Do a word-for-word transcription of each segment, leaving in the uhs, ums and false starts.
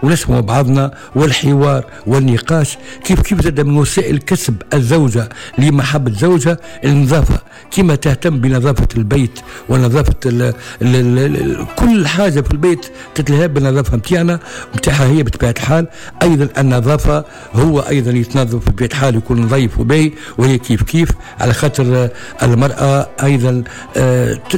ونسمع بعضنا، والحوار والنقاش كيف كيف زاد من وسائل كسب الزوجة لمحبة زوجها. النظافة، كما تهتم بنظافة البيت ونظافة ال ال ال كل حاجة في البيت تتلهى بالنظافة نتاعنا نتاعها هي بطبيعة الحال. أيضا النظافة هو أيضا يتنظف بطبيعة الحال، يكون نظيف وباهي، وهي كيف كيف، على خاطر المرأة أيضا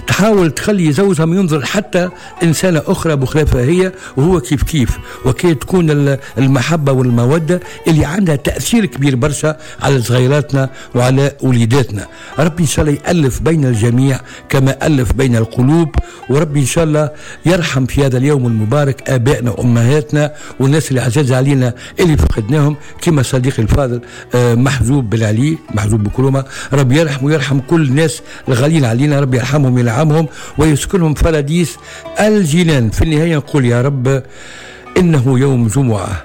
تحاول تخلي زوجها ما ينظر حتى إنسانة أخرى بخلافها هي، وهو كيف كيف، وكي تكون المحبة والمودة اللي عندها تأثير كبير برشا على صغيراتنا وعلى وليداتنا. ربي إن شاء الله يألف بين الجميع كما ألف بين القلوب، وربي إن شاء الله يرحم في هذا اليوم المبارك آبائنا وأمهاتنا والناس اللي عزاز علينا اللي فقدناهم، كما صديقي الفاضل محجوب بالعلي، محجوب بكرومة، ربي يرحم ويرحم كل الناس الغالين علينا، ربي يرحمهم وينعمهم ويسكنهم فراديس الجنان. في النهاية نقول يا رب إنه يوم جمعة،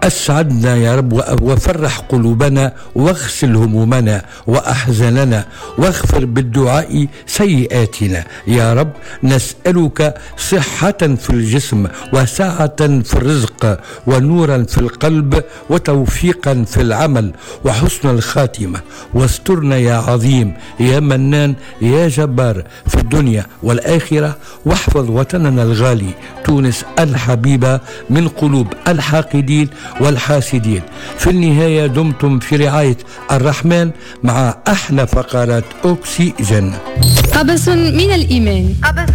أسعدنا يا رب وفرح قلوبنا واغسل همومنا وأحزاننا واغفر بالدعاء سيئاتنا يا رب. نسألك صحة في الجسم وسعة في الرزق ونورا في القلب وتوفيقا في العمل وحسن الخاتمة، واسترنا يا عظيم يا منان يا جبار في الدنيا والآخرة، واحفظ وطننا الغالي تونس الحبيبة من قلوب الحاقدين والحاسدين. في النهاية دمتم في رعاية الرحمن مع أحلى فقرات أكسجين. قبس من الإيمان. قبس